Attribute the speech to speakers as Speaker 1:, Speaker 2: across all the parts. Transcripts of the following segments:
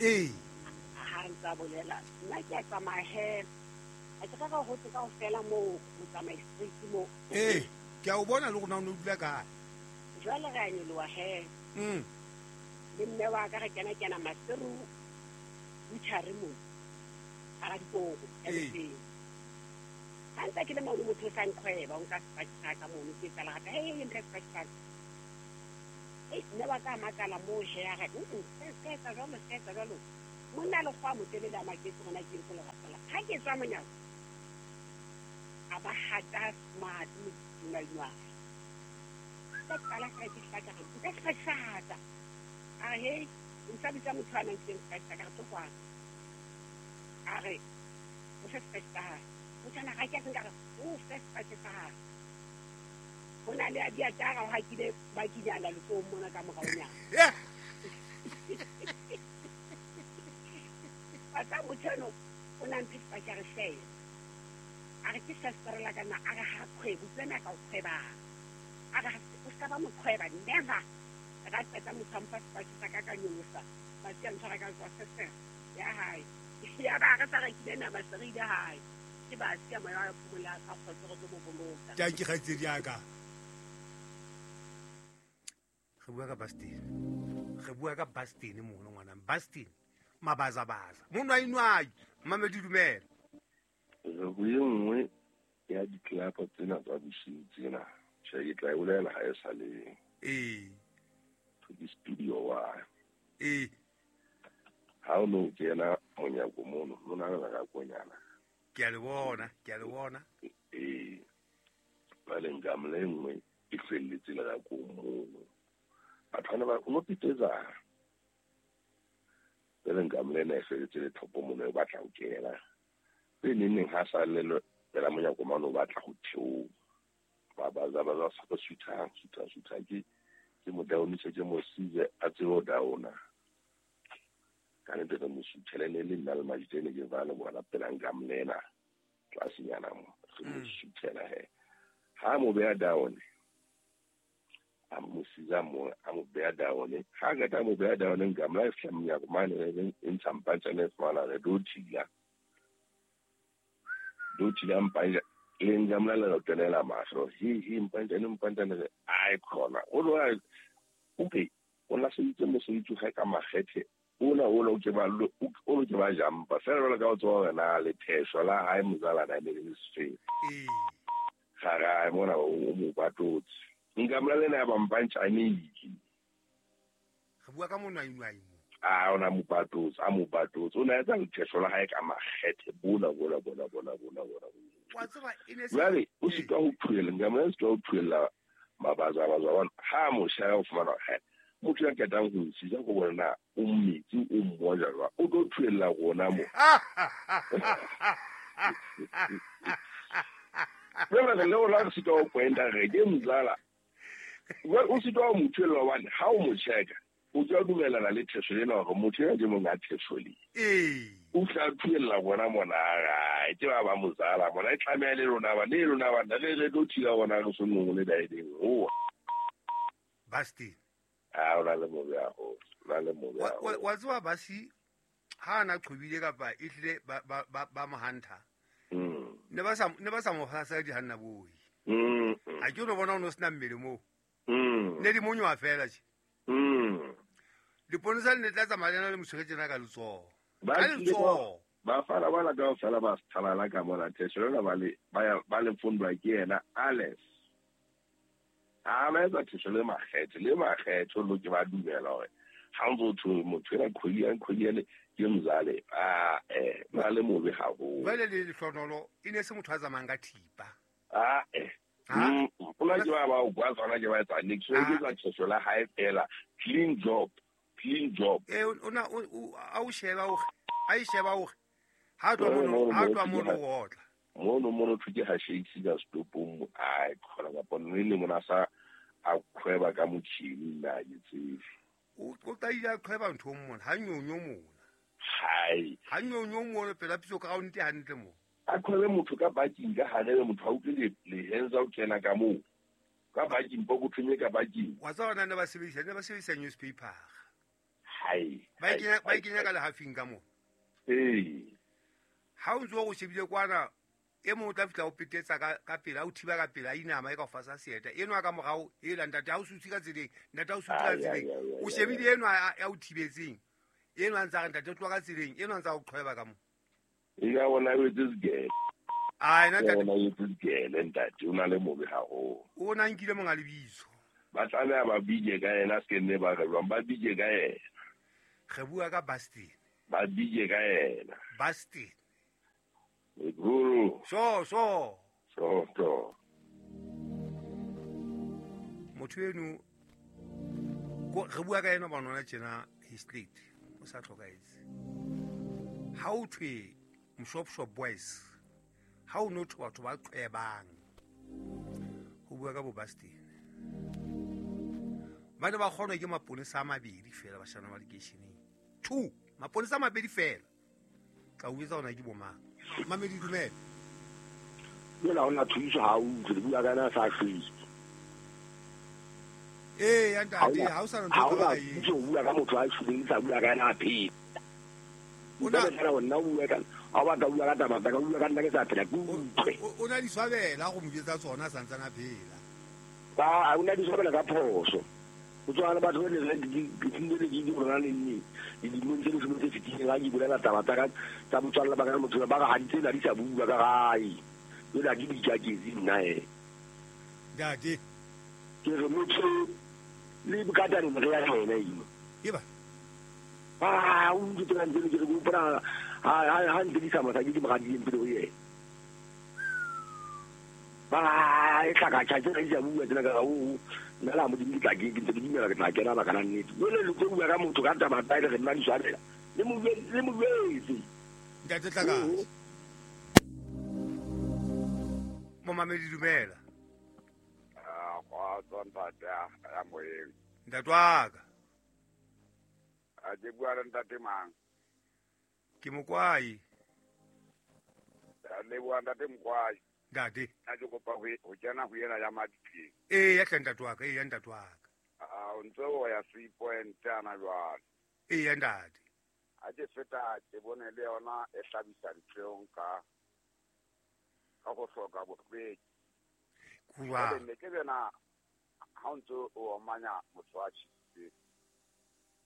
Speaker 1: Ee.
Speaker 2: Ha ntsa bolela nna ke a tsamaya he, a ke rera ho tse kaofela moo motsamai street moo.
Speaker 1: Ee, ke a o bona le rona o ne o dula kae.
Speaker 2: Jwale re a nyoloha he. Le mme wa ka re kena kena Maseru butchery moo hara dikoko ya boteng. Ha ntse ke le mono motho o sa nqhweba o nka sepatjhe sa ka mono ke etsa lerata, hei mphe sepatjhe sa ka. Hei mme wa ka a makala moo he a re se ka etsa jwalo se ka etsa jwalo. Monna a lekgowa motelele a maketse hore na ke entse lerata la. Ha ke tswa monyako a ba hata smart modinwainwai. Ka qala fela ke hlaka re nka sepatjhe sa ka. A re hei o ntsa bitsa motho a nang nkileng sepatjhe sa ka re tlo kwana. A re o fe sepatjhe sa hae. Motho ana ga ke a se nka re o fe sepatjhe sa hae. Ho na le a diatara o hakile bakinyana letsohong mona ka moraonyana. Wa tseba motho eno o na mphe sepatjhe a re sheba. A re ke sestere la ka na a re ha kgwebo tsena ka o kgwebang. A re o ska ba moqhweba never. Ra qeta motho a mpha sepatjhe sa ka ka nyolosa. Ba sia ntshwara ka tswa sestere ya hae. Ya ba re sa rekile nama se re ile hae. Ke ba sia moya wa phomola ka kgotso re tlo mo boloka.
Speaker 1: Tanki kgaitsedi ya ka. Re bua ka Bastin. Re bua ka Bastin mono ngwana. Bastin mabazabaza. Monwainwai mmamedi dumela.
Speaker 3: Re ho e nngwe ya ditlelapa tsena tsa bosiu tsena. Tjhe, ke tla e bolela ha e sa le.
Speaker 1: Ee.
Speaker 3: To ke studio wa.
Speaker 1: Ee.
Speaker 3: Ha o no kena monyako mono, lona le reka konyana.
Speaker 1: Ke a le bona, ke a le bona.
Speaker 3: Ee. Jwale nka mla e nngwe e hlwelletse lerakong mono. Batho bana ba o no pitsetsa. Jwale nka mla ena e hlwelletse lethopo mono e batla ho kena. Tse neng neng ha sa le pela monyako mane o batla ho theoha. Ba ba ba ba sa suthang, suthang, suthang ke ke mo downise ke mo size a tsebe ho downa. Ka nnete re mo suthele ne le nna le Majitene ke ba le bona pela nka mlena tlasenyana mo. Re mo suthela he. Ha mo beha down, a mo siza mo, a mo beha down. Ha qeta mo beha down nka mla e fihla monyako mane e ntsha mpantjane e fumana re do thila. Do thila mpanja le nka mla le kenela mahlo. Hi hi mpantjane mpantjane re ai khona. O lo a okay, o la se itse mosebetsi ga ka makgethe. Ona o lo ke ba lo o lo ke ba jampa. Fela jwalo ka o tswa hore na le thesho la hae mozala na le le sefeng.
Speaker 1: Ee.
Speaker 3: Ga ga mona o mo patotse. Nka mla le na ba mpantjane itse.
Speaker 1: Re bua ka monwainwai mo.
Speaker 3: A ona mo patotse, a mo patotse. O na etsa lethesho la hae ka makgethe bona bona bona bona bona bona.
Speaker 1: Wa tseba e ne se
Speaker 3: Jwale o sitwa ho thuela, nka mla sitwa ho thuela mabaza baza wa ha mo shaya o fumana he. Motho ya qetang ho nsisa go bona na o mmetsi o mmoja jwang, o tlo thuella rona mo. Jwale re le rona re sitwa ho pointa re ke mzala. Jwale o sitwa ho mo thuella hobane ha o mo checka, o tla dumellana le thesho ena hore motho ena ke monga thesho le.
Speaker 1: Ee.
Speaker 3: O tla thuella rona mona, ai, ke ba ba mozala mona, e tlameha le lona ba, le lona ba, re re tlo thila rona re so nngwe le daedeng. Oa.
Speaker 1: Basti.
Speaker 3: A o na le mobe haholo, o na le mobe haholo.
Speaker 1: Wa tseba basi ha ana qhobile kapa e hlile ba mo hunter. Ne ba sa, ne ba sa mo hlasela dihanna boi. A ke no bona o no sena mmele moo. Ne di monywa fela tje. Diponesa le ne tla tsamaya le na le motshwere tjena ka letsoho.
Speaker 3: Ba
Speaker 1: Ka
Speaker 3: tlile
Speaker 1: letsoho.
Speaker 3: ba fana bana kaofela ba thalala ka mona thesho lena ba le, ba ya, ba le fundwa ke yena Alex. A ba etsa thesho le makgethe, le makgethe lo ke ba dumela hore ha ntso thwe motho ena kgwedi ya kgwedi ene ke mzale, a ba le mobe haholo.
Speaker 1: Jwale le lehlonolo e ne se motho a tsamayang ka thipa.
Speaker 3: A
Speaker 1: Ha?
Speaker 3: O la ke ba ba o kwa tsona ke ba etsa niks, o
Speaker 1: Ha?
Speaker 3: etsa thesho la hae fela, clean job, clean job.
Speaker 1: O na, o, o, a o sheba o, a e sheba o, ha tloha
Speaker 3: Mono,
Speaker 1: mono, ha
Speaker 3: mono,
Speaker 1: tloha
Speaker 3: mono,
Speaker 1: mono o otla.
Speaker 3: Mono, mono thwe ke ha shakes ka setopong mo, ai, kgona kapa nne le mona sa a kgweba ka motjhini nna ha ke tsebe.
Speaker 1: O qadile a qhweba nthong mona, ha nyonyo mona.
Speaker 3: Hai.
Speaker 1: Ha nyonyo mona pela pitso ground hantle mo.
Speaker 3: A qhwebe motho ka parking ka hare le motho a utlwe lehenza o kena ka moo. Ka parking, pokothong e ka parking.
Speaker 1: Wa tseba hore na ne ba sebedisa, ne ba sebedisa newspaper.
Speaker 3: Hai.
Speaker 1: Ba kenya ka lehafing ka mo.
Speaker 3: Ee.
Speaker 1: Ha o ntse o shebile kwana e mong o tla fihla o petetsa ka pele, a o thiba ka pele, a inama e ka o fasa seeta. Enwa ka morao, ela ntate ha o sutse ka tseleng, ntate ha o sutse ka tseleng. O shebile enwa ya o thibetseng. Enwa a ntse a re ntate tloha ka tseleng, enwa a ntse a o qhweba ka mo.
Speaker 3: E ka bona o etse sekele.
Speaker 1: Ai na ntate.
Speaker 3: Bona o etse sekele ntate, o na le mobe haholo.
Speaker 1: O na nkile monga lebitso.
Speaker 3: Ba tlameha ba bije ka yena, se ke nne ba re jwang, ba bije ka yena.
Speaker 1: Re bua ka Bastin.
Speaker 3: Ba bije ka yena.
Speaker 1: Bastin.
Speaker 3: Guru.
Speaker 1: So. So. Motho eno re bua ka yena ba nona tjena his late o sa tlhokaetse. Ha o thwe Mshopshop Boys, ha o no thwe batho ba qwebang. Ho bua ka bo Bastin. Ba ne ba kgonwa ke maponesa a mabedi fela bashana ba lekeisheneng. 2 maponesa a mabedi fela. Ka o etsa ona ke bo mang? Mamedi dumela.
Speaker 4: Jwale ha ona thuso ha o utlwe, le bua ka yena a sa hlwele.
Speaker 1: Ee, ya ntate, ha o sa na ntho ka e.
Speaker 4: Ha o bua ka motho a shweleng, sa bua ka yena a phela.
Speaker 1: O na
Speaker 4: nna o bua ka ha o batla bua ka taba tsa ka, bua ka nna ke sa phela, ke utlwe.
Speaker 1: O na di swabela go mo jetsa tsona a santsana a phela.
Speaker 4: Ba o na di swabela ka phoso. O tswana batho ba le di rona le nne. Dilemong tse leshome tse fetileng ha ke bolela taba tsa ka tsa botswalle ba ka le motho ba re ha di tsena di sa bua ka gae. Jwale ha ke di ikaketse nna he.
Speaker 1: Ntate.
Speaker 4: Ke re motho le bokataneng re ya yena eno.
Speaker 1: Eba.
Speaker 4: Ah, o ntse ke ntse ke re hopola ha ntse di sa mosadi ke moradileng pele ho yena. Ba e tlaka tjha tse di sa bua tsena ka o nna la modimo ke tla ke ntse ke dumela ke tla kena baka la nnete. Jwale le tlo bua ka motho ka taba tsa re nna di swabela. Le mo jwetse.
Speaker 1: Ntate Tlaka. Momamedi dumela.
Speaker 5: Ah, kwa ntate ya moyeng.
Speaker 1: Ntate wa ka.
Speaker 5: A ke bua le ntate mang?
Speaker 1: Ke Mokwai.
Speaker 5: Le bua ntate Mokwai.
Speaker 1: Ntate.
Speaker 5: A ke kopa ho kena ho yena ya Maditleng.
Speaker 1: Ee, ya hle ntate wa ka, ee ya ntate wa ka.
Speaker 5: Ah, o ntse o ya 3 point ana jwale.
Speaker 1: Ee ya ntate.
Speaker 5: A ke feta ke bone le yona e hlabisa ditlhong ka go hloka bohlweki.
Speaker 1: Kuwa.
Speaker 5: Ne ke bena ha o ntse o omanya motho wa tjhitse.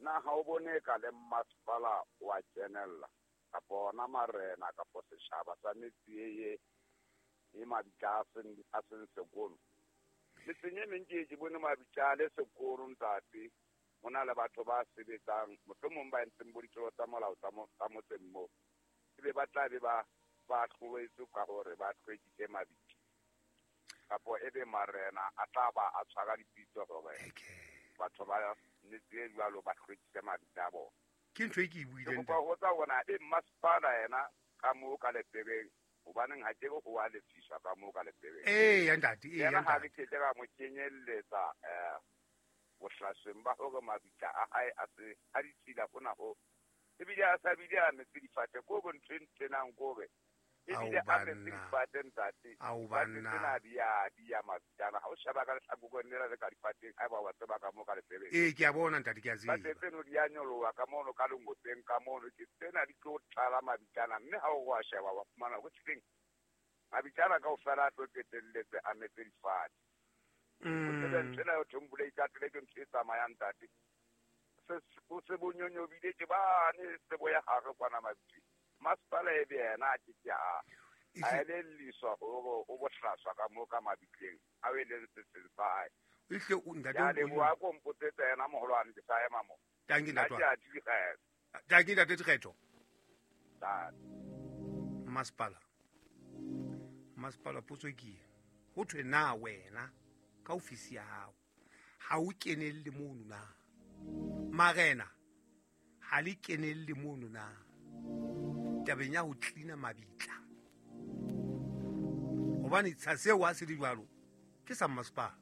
Speaker 5: Na ha o bone ka le masepala wa kenella kapa ona marena kapa setjhaba sa metse e e mabitla a seng sekolo. Metseng e meng ke bone mabitla le sekolo ntate. Ho na le batho ba sebetsang mohlomong ba entseng bo ditlolo tsa molao tsa motseng moo. Ebe ba tla be ba hlwetse ka hore ba hlwekise mabitla. Kapo ebe marena a tla ba a tshwara dipitso hore batho ba metse e jwalo ba hlwekise mabitla a bona.
Speaker 1: Ke ntho e ke e buileng.
Speaker 5: Ke kopa ho tsa bona e masepala yena ka moo ka lepebeng. Hobaneng ha ke o a lefiswa ka moo ka lepebeng.
Speaker 1: Ee ya ntate, ee ya
Speaker 5: Yena ha
Speaker 1: ntate.
Speaker 5: re ke ka mo kenyelletsa bohlasweng ba hore mabitla a hae a se a ditshila hona ho. Ebile a sa bile a metse difate ko bo ntho e ntenang kore. Ebile a metse difate ntate.
Speaker 1: Ao
Speaker 5: Difate
Speaker 1: banna.
Speaker 5: tsena di ya mabitla. Ha o sheba ka lehlakoreng lena le ka difateng, ha eba wa tseba ka moo ka lepebeng.
Speaker 1: Ee, ke a bona ntate, ke a tseba.
Speaker 5: Difate tseno di a nyoloha ka mono ka lengopeng ka mono. Ke tsena di tlo tlala mabitlana, mme ha o wa sheba wa fumana ho teng mabitlana kaofela a tlo qetelletse a metse difate. O tsebe ntho ena ya thombole ikatele ke ntho e tsamayang ntate. O se bonyonyobile ke bane tsebo ya hare kwana mabitleng. Masepala e be yena a ke ke a elelliswa hore o bohlaswa ka moo ka mabitleng a o eleng setseng sa hae.
Speaker 1: Ehlile o ntate
Speaker 5: Ya
Speaker 1: o
Speaker 5: leboha ko mpotsetsa yena moholwane ke sa ema mo.
Speaker 1: Tanki
Speaker 5: Nna
Speaker 1: ntate
Speaker 5: ke
Speaker 1: wa.
Speaker 5: a direla.
Speaker 1: Tanki ntate Dikgetho.
Speaker 5: Ntate.
Speaker 1: Masepala. Masepala potso ke e. Ho thwe na wena ka ofisi ya hao ha o kenelle mono na? Marena ha le kenelle mono na? Tabeng ya ho cleana mabitla. Hobane tsha seo ha se le jwalo ke sa masepala.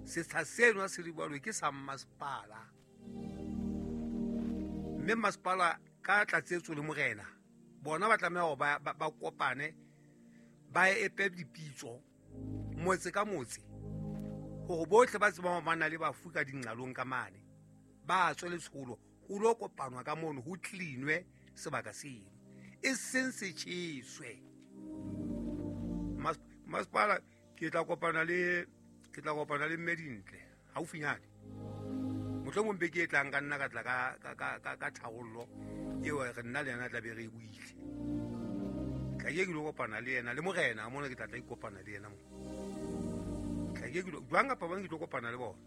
Speaker 1: Setsha seno ha se le jwalo ke sa masepala. Mme masepala ka tlatsetso le morena bona ba tlameha hore ba kopane ba epe dipitso motse ka motse hore bohle ba tsebang hore ba na le bafu ka dinqalong ka mane Ba tswe letsholo ho lo kopanwa ka mono, ho cleanwe sebaka seno, e seng se tjheswe. Masepala ke tla kopana le ke tla kopana le mme Dintle haufinyane, mohlomong beke e tlang ka nna ka tla ka tharollo eo re nna le yena tla be re e buile. Tla ke lo kopana le yena le morena mona, ke tla tla ikopana le yena mo. Tla ke lo jwang kapa bang ke tlo kopana le bona,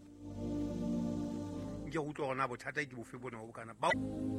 Speaker 1: nke go utlwa gona bothata ke bofe bona bo bokana ba.